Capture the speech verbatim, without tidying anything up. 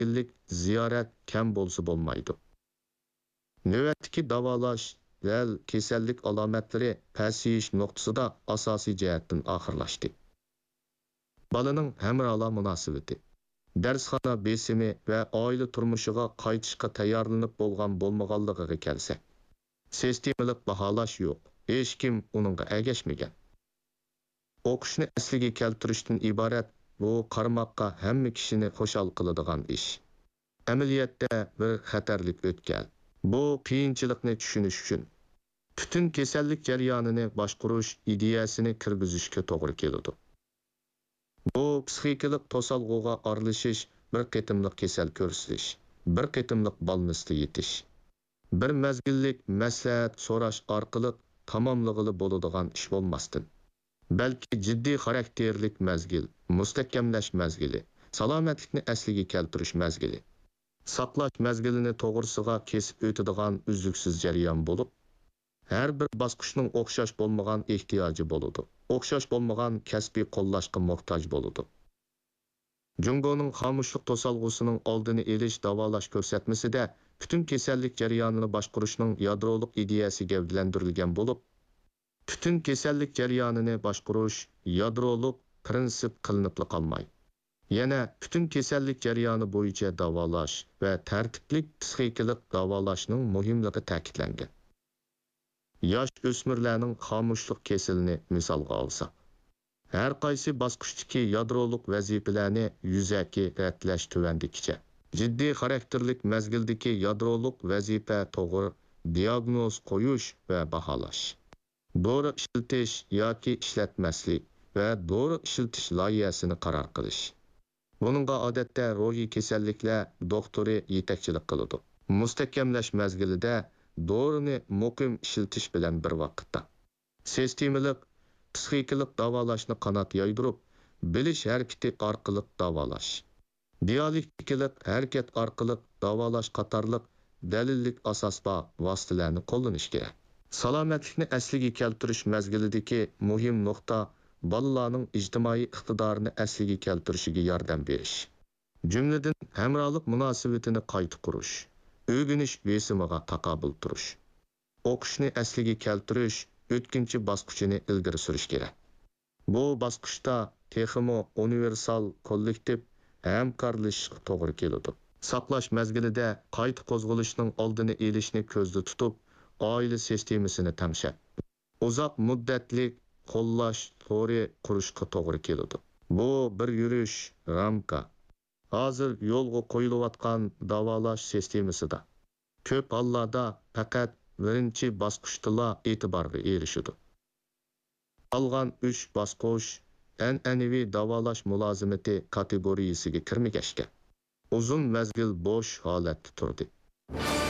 مەزگىللىك زىيارەت كەم بولسا بولمايدۇ. نۆۋەتتىكى داۋالاش دەل كېسەللىك ئالامەتلىرى پەسىيىش نۇقتىسىدا ئاساسىي جەھەتتىن ئاخىرلاشتى. بالىنىڭ ھەمراھلار مۇناسىۋىتى، دەرسخانا بېسىمى ۋە ئائىلە تۇرمۇشىغا قايتىشقا تەييارلىنىپ بولغان بولمىغانلىقىغا كەلسەك، سىستېمىلىق باھالاش يوق، ھېچكىم ئۇنىڭغا ئەگەشمىگەن. ئوقۇشنى ئەسلىگە كەلتۈرۈشتىن ئىبارەت بۇ قارىماققا ھەممە كىشىنى خۇشال قىلىدىغان ئىش. ئەمەلىيەتتە بىر خەتەرلىك ئۆتكەل. بۇ قىيىنچىلىقنى چۈشىنىش ئۈچۈن پۈتۈن كېسەللىك جەريانىنى باشقۇرۇش ئىدىيەسىنى كىرگۈزۈشكە توغرا كېلىدۇ. بۇ پسىخىكىلىق توسالغۇغا ئارىلىشىش، بىر قېتىملىق كېسەل كۆرسىتىش، بىر قېتىملىق بالنىستا يېتىش، بىر مەزگىللىك مەسلىھەت سوراش ئارقىلىق تاماملىغىلى بولىدىغان ئىش بولماستىن، بەلكى جىددىي خاراكتېرلىك مەزگىل، مۇستەھكەملەش مەزگىلى، سالامەتلىكنى ئەسلىگە كەلتۈرۈش مەزگىلى، ساقلاش مەزگىلىنى توغرىسىغا كېسىپ ئۆتىدىغان ئۈزلۈكسىز جەريان بولۇپ، ھەر بىر باسقۇچنىڭ ئوخشاش بولمىغان ئېھتىياجى بولىدۇ، ئوخشاش بولمىغان كەسپىي قوللاشقا موھتاج بولىدۇ. جۇڭگونىڭ خامۇشلۇق توسالغۇسىنىڭ ئالدىنى ئېلىش داۋالاش كۆرسەتمىسىدە پۈتۈن كېسەللىك جەريانىنى باشقۇرۇشنىڭ يادرولۇق ئىدىيەسى گەۋدىلەندۈرۈلگەن بولۇپ، پۈتۈن كېسەللىك جەريانىنى باشقۇرۇش يادرولۇق پىرىنسىپ قىلىنىپلا قالماي، يەنە پۈتۈن كېسەللىك جەريانى بويىچە داۋالاش ۋە تەرتىپلىك پسىخىكىلىق داۋالاشنىڭ مۇھىملىقى تەكىتلەنگەن. ياش ئۆسمۈرلەرنىڭ خامۇشلۇق كېسىلىنى مىسالغا ئالساق، ھەر قايسى باسقۇچتىكى يادرولۇق ۋەزىپىلەرنى يۈزەكى رەتلەش تۆۋەندىكىچە. جىددىي خاراكتېرلىك مەزگىلدىكى يادرولۇق ۋەزىپە توغرا دىياگنوز قويۇش ۋە باھالاش، دورا ئىشلىتىش ياكى ئىشلەتمەسلىك ۋە دورا ئىشلىتىش لايىھەسىنى قارار قىلىش. بۇنىڭغا ئادەتتە روھىي كېسەللىكلەر دوختۇرى يېتەكچىلىك قىلىدۇ. مۇستەھكەملەش مەزگىلىدە دورىنى مۇقىم ئىشلىتىش بىلەن بىر ۋاقىتتا، سىستېمىلىق پسىخىكىلىق داۋالاشنى قانات يايدۇرۇپ، بىلىش ھەرىكىتى ئارقىلىق داۋالاش، دىيالېكتىكىلىق ھەرىكەت ئارقىلىق داۋالاش قاتارلىق دەلىللىك ئاساس بار ۋاسىتىلەرنى قوللىنىش كېرەك. سالامەتلىكنى ئەسلىگە كەلتۈرۈش مەزگىلىدىكى مۇھىم نۇقتا بالىلارنىڭ ئىجتىمائىي ئىقتىدارىنى ئەسلىگە كەلتۈرۈشىگە ياردەم بېرىش. جۈملىدىن، ھەمراھلىق مۇناسىۋىتىنى قايتا قۇرۇش، ئۆگىنىش بېسىمىغا تاقابىل تۇرۇش. ئوقۇشنى ئەسلىگە كەلتۈرۈش ئۆتكۈنچى باسقۇچىنى ئىلگىرى سۈرۈش كېرەك. بۇ باسقۇچتا تېخىمۇ ئۇنىۋېرسال كوللېكتىپ ھەمكارلىشىشقا توغرا كېلىدۇ. ساقلاش مەزگىلىدە قايتا قوزغىلىشنىڭ ئالدىنى ئېلىشنى كۆزدە تۇتۇپ، ئائىلە سىستېمىسىنى تەڭشەپ، ئۇزاق مۇددەتلىك قوللاش تورى قۇرۇشقا توغرا كېلىدۇ. بۇ بىر يۈرۈش، رامكا. ھازىر يولغا قويۇلۇۋاتقان داۋالاش سىستېمىسىدا كۆپ ھاللاردا پەقەت بىرىنچى باسقۇچتىلا ئېتىبارغا ئېرىشىدۇ. قالغان ئۈچ باسقۇچ ئەنئەنىۋى داۋالاش مۇلازىمىتى كاتېگورىيەسىگە كىرمىگەچكە، ئۇزۇن مەزگىل بوش ھالەتتە تۇردى.